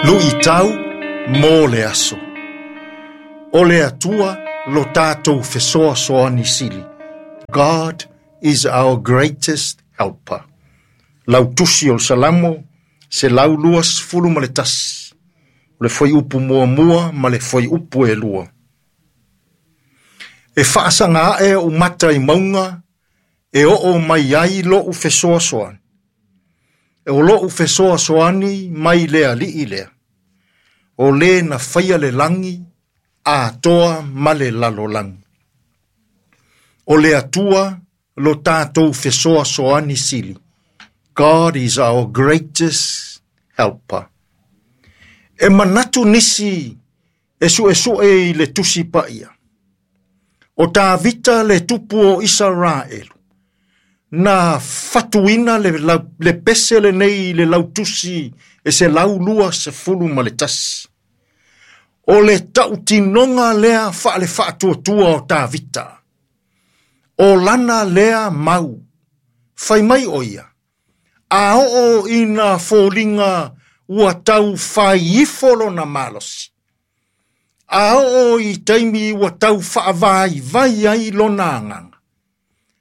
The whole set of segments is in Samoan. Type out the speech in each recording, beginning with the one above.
Luitau mo le aso. O le Atua lo tātou fesoasoani sili. God is our greatest helper. Lau tusi o le Salamo, 121. O le fuaiupu muamua ma le fuaiupu e lua. E faasaga ae ou mata i mauga e oo mai ai lo'u fesoasoani. O lo'u fesoasoani mai le Alii lea. O lē na faia le lagi atoa ma le lalolagi. O le Atua lo tātou fesoasoani sili. God is our greatest helper. E manatu nisi e suesue i le Tusi Paia. O Tavita le tupu o Isaraelu. Na fatuina le pese lenei i le lautusi e 121. O le tautinoga lea faale faatuatua o Tavita. O lana lea mau. Fai mai o ia. A oo ina foliga ua tau fai ifo lona malosi. A oo i taimi ua tau faavaivai ai lona agaga.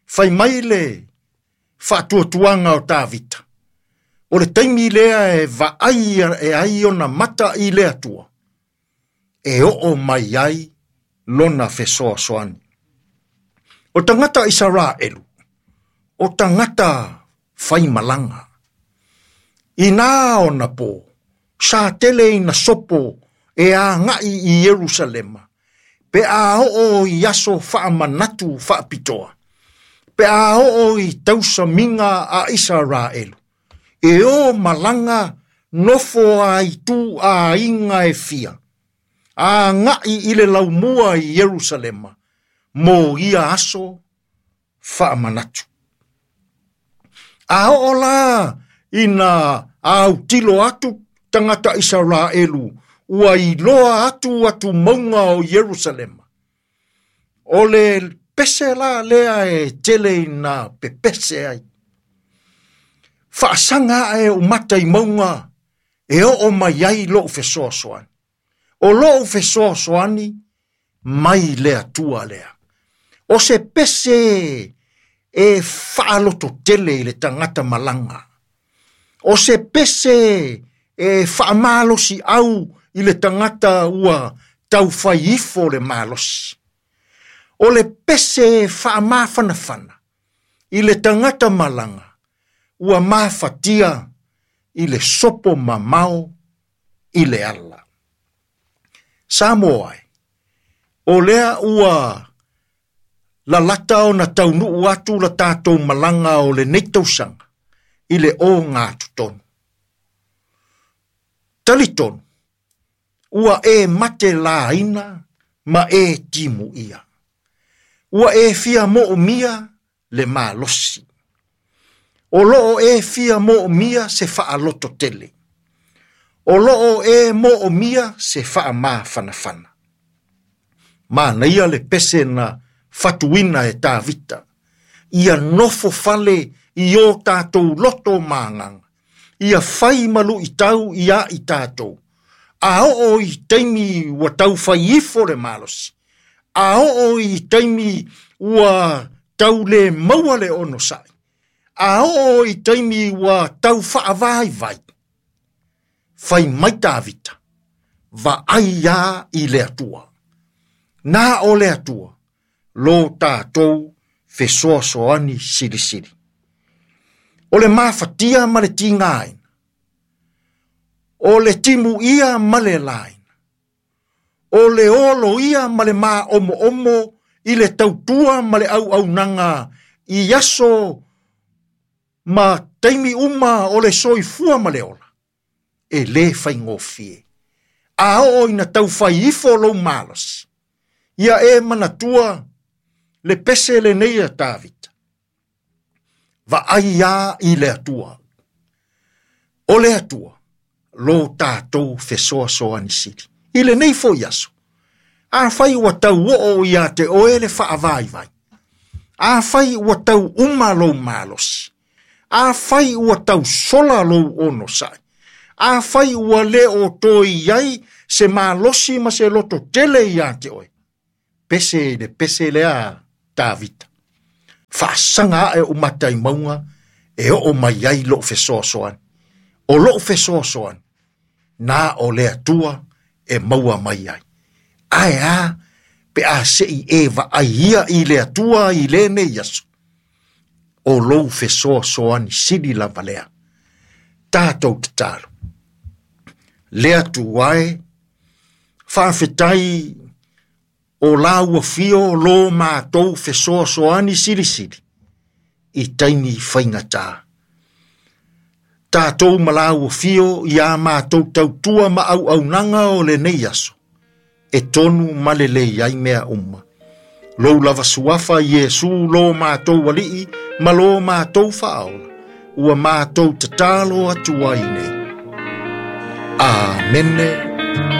Fai mai le faatuatuaga o Tavita. O le taimi lea e vaai e ai ona mata i le Atua. E oo mai ai lona fesoasoani. O tagata Isaraelu, o tagata faimalaga. Ina ona po, sa tele ina sopo e agai i Ierusalema, pe a oo i aso faamanatu faapitoa, pe a oo i tausamiga a Isaraelu, e o malaga nofo a itu aiga e fia, agai i le laumua i Ierusalema, mo ia aso faamanatu. A oo la ina autilo atu tagata Isaraelu, ua iloa atu atu mauga o Ierusalema. O le pese la lea e tele ina pepese ai. Faasaga ae ou mata i mauga e oo mai ai lou fesoasoani. O lou fesoasoani mai le Atua lea. O se pese e faalototele i le tagata malaga. O se pese e faamalosi au i le tagata ua taufai ifo le malosi. O le pese e faamafanafana i le tagata malaga ua mafatia i le sopo mamao i le ala. Samoa ai, o lea ua lalata ona taunuu atu la tātou malaga o lenei tausaga i le ogatotonu. Talitonu, ua e mate laina ma e timuia. Ua e fia moomia le malosi. O loo e fia moomia se faalototele. O loo e moomia se faamafanafana. Manaia le pese na fatuina e Tavita. Ia nofo fale i o tātou loto ma agaga. Ia fai ma luitau ia i tātou. A oo i taimi ua tau fai ifo le malosi. A oo i taimi ua tau le maua le onosai. A oo i taimi ua tau faavaivai. Fai mai Tavita, vaai ia i le Atua. Na o le Atua, lo tātou fesoasoani silisili. O le mafatia ma le tigaina. O le timuia ma le laina. O le olo ia ma le maomoomo i le tautua ma le auaunaga i aso ma taimi uma o le soifua ma le ola. E lē faigofie. A oo ina taufai ifo lou malosi. Ia e manatua le pese lenei a Tavita. Vaai ia i le Atua. O le Atua, lo tātou fesoasoani sili. I lenei foi aso. Afai ua tau oo ia te oe le faavaivai. Afai ua tau uma lou malosi. Afai ua tau sola lou onosai. Afai ua lē o toe i ai se malosi ma se loto tele iā te oe, pese i le pese lea a Tavita. Faasaga ae ou mata i mauga e oo mai ai lou fesoasoani. O lou fesoasoani, na o le Atua e maua mai ai. Ae a pe a se i e vaai ia i le Atua i lenei aso? O lou fesoasoani sili lava lea. Tatou tatalo. Le Atua e, faafetai o la ua fio lo matou fesoasoani silisili i taimi faigata. Tatou ma la ua fio ia matou tautua ma auaunaga o lenei aso, e tonu ma lelei ai mea uma. Lou lava suafa Iesu lo matou alii ma lo matou faaola, ua matou tatalo atu ai nei. Amene.